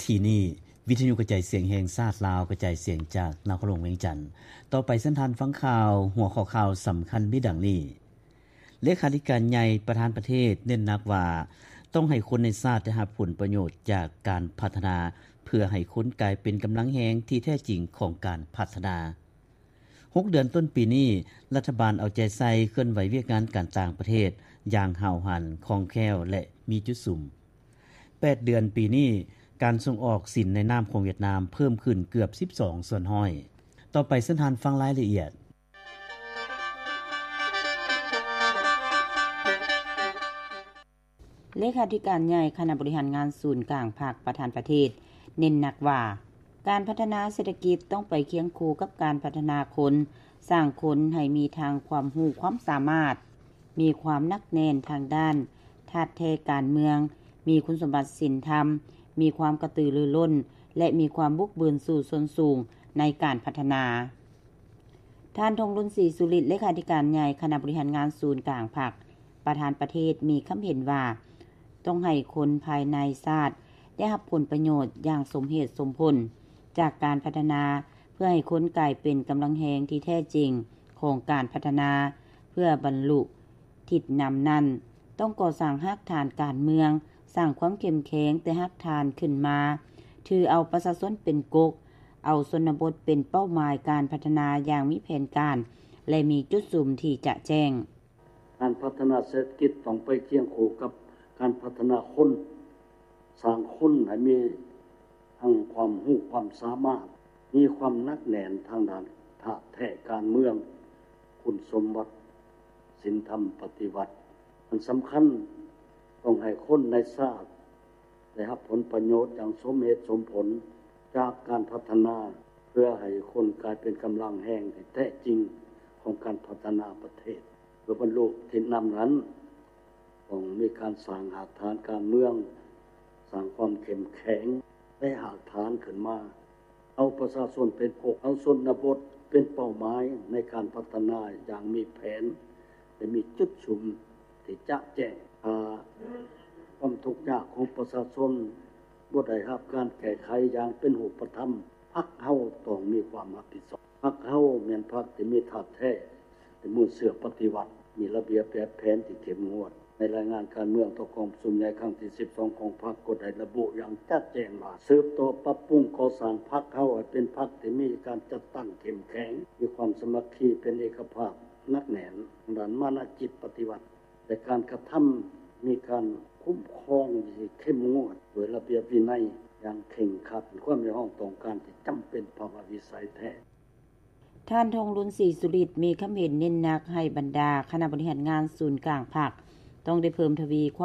ທີ່ນີ້ ວິທະຍຸກະຈາຍສຽງແຫ່ງຊາດລາວ ກະຈາຍສຽງຈາກນະຄອນຫຼວງວຽງຈັນ. ຕໍ່ໄປເຊີນທ່ານຟັງຂ່າວ, ຫົວຂໍ້ຂ່າວສຳຄັນມີດັ່ງນີ້: ເລຂາທິການໃຫຍ່ປະທານປະເທດເນັ້ນໜັກວ່າ ຕ້ອງໃຫ້ຄົນໃນຊາດໄດ້ຮັບຜົນປະໂຫຍດຈາກການພັດທະນາ ເພື່ອໃຫ້ຄົນກາຍເປັນກຳລັງແຮງທີ່ແທ້ຈິງຂອງການພັດທະນາ. ຫົກເດືອນຕົ້ນປີນີ້, ລັດຖະບານເອົາໃຈໃສ່ເຄື່ອນໄຫວວຽກງານການຕ່າງປະເທດຢ່າງຫ້າວຫັນ, ຄ່ອງແຄ້ວ ແລະ ມີຈຸດສຸມ. ແປດເດືອນປີນີ້, ການສົ່ງອອກສິນໃນນາມຂອງຫວຽດນາມເພີ່ມຂຶ້ນເກືອບສິບສອງສ່ວນຮ້ອຍ. ຕໍ່ໄປເຊີນທ່ານຟັງລາຍລະອຽດ. ເລຂາທິການໃຫຍ່ຄະນະບໍລິຫານງານສູນກາງພັກປະທານປະເທດ ເນັ້ນໜັກວ່າ ການພັດທະນາເສດຖະກິດຕ້ອງໄປຄຽງຄູ່ກັບການພັດທະນາຄົນ, ສ້າງຄົນໃຫ້ມີທັງຄວາມຮູ້ຄວາມສາມາດ, ມີຄວາມໜັກແໜ້ນທາງດ້ານທາດແທ້ການເມືອງ, ມີຄຸນສົມບັດສິນທຳ, ມີຄວາມກະຕືລືລົ້ນ ແລະ ມີຄວາມບຸກບືນສູ້ຊົນສູງໃນການພັດທະນາ. ທ່ານ ທອງລຸນ ສີສຸລິດ ເລຂາທິການໃຫຍ່ຄະນະບໍລິຫານງານສູນກາງພັກປະທານປະເທດ ມີຄຳເຫັນວ່າ ຕ້ອງໃຫ້ຄົນພາຍໃນຊາດໄດ້ຮັບຜົນປະໂຫຍດຢ່າງສົມເຫດສົມຜົນຈາກການພັດທະນາ ເພື່ອໃຫ້ຄົນກາຍເປັນກຳລັງແຮງທີ່ແທ້ຈິງຂອງການພັດທະນາ. ເພື່ອບັນລຸທິດນຳນັ້ນ ຕ້ອງກໍ່ສ້າງຮາກຖານການເມືອງ, ສ້າງຄວາມເຂັ້ມແຂງແຕ່ຮາກຖານຂຶ້ນມາ, ຖືເອົາປະຊາຊົນເປັນກົກ, ເອົາຊົນນະບົດເປັນເປົ້າໝາຍການພັດທະນາຢ່າງມີແຜນການ ແລະ ມີຈຸດສຸມທີ່ຈະແຈ້ງ. ການພັດທະນາເສດຖະກິດຕ້ອງໄປຄຽງຄູ່ກັບການພັດທະນາຄົນ, ສ້າງຄົນໃຫ້ມີທັງຄວາມຮູ້ຄວາມສາມາດ, ມີຄວາມໜັກແໜ້ນທາງດ້ານທາດແທ້ການເມືອງ, ຄຸນສົມບັດສິນທຳປະຕິວັດ. ອັນສຳຄັນ, ຕ້ອງໃຫ້ຄົນໃນຊາດ ໄດ້ຮັບຜົນປະໂຫຍດຢ່າງສົມເຫດສົມຜົນຈາກການພັດທະນາ ເພື່ອໃຫ້ຄົນກາຍເປັນກຳລັງແຮງທີ່ແທ້ຈິງຂອງການພັດທະນາປະເທດ. ເພື່ອບັນລຸທິດນຳນັ້ນ, ຕ້ອງມີການສ້າງຮາກຖານການເມືອງ, ສ້າງຄວາມເຂັ້ມແຂງໃນຮາກຖານຂຶ້ນມາ, ເອົາປະຊາຊົນເປັນກົກ, ເອົາຊົນນະບົດເປັນເປົ້າໝາຍໃນການພັດທະນາຢ່າງມີແຜນ ແລະ ມີຈຸດສຸມທີ່ຈະແຈ້ງ. ຖ້າຄວາມທຸກຍາກຂອງປະຊາຊົນບໍ່ໄດ້ຮັບການແກ້ໄຂຢ່າງເປັນຮູບປະທຳ, ພັກເຮົາຕ້ອງມີຄວາມຮັບຜິດຊອບ. ພັກເຮົາແມ່ນພັກທີ່ມີທາດແທ້, ເປັນມູນເຊື້ອປະຕິວັດ, ມີລະບຽບແບບແຜນທີ່ເຂັ້ມງວດ. ໃນລາຍງານການເມືອງຕໍ່ກອງປະຊຸມໃຫຍ່ຄັ້ງທີສິບສອງຂອງພັກ ກໍໄດ້ລະບຸຢ່າງຈະແຈ້ງວ່າ ສືບຕໍ່ປັບປຸງກໍ່ສ້າງພັກເຮົາໃຫ້ເປັນພັກທີ່ມີການຈັດຕັ້ງເຂັ້ມແຂງ, ມີຄວາມສາມັກຄີເປັນເອກະພາບໜັກແໜ້ນ, ດ້ານມານະຈິດປະຕິວັດ ແລະ ການກະທຳມີການຄຸ້ມຄອງທີ່ເຂັ້ມງວດດ້ວຍລະບຽບວິໄນຢ່າງເຄັ່ງຄັດ, ເປັນຄວາມຮຽກຮ້ອງຕ້ອງການທີ່ຈຳເປັນພາວະວິໄສແທ້. ທ່ານ ທອງລຸນ ສີສຸລິດ ມີຄຳເຫັນເນັ້ນໜັກໃຫ້ບັນດາຄະນະບໍລິຫານງານສູນກາງພັກ ຕ້ອງໄດ້ເພີ່ມທະວີຄວາມ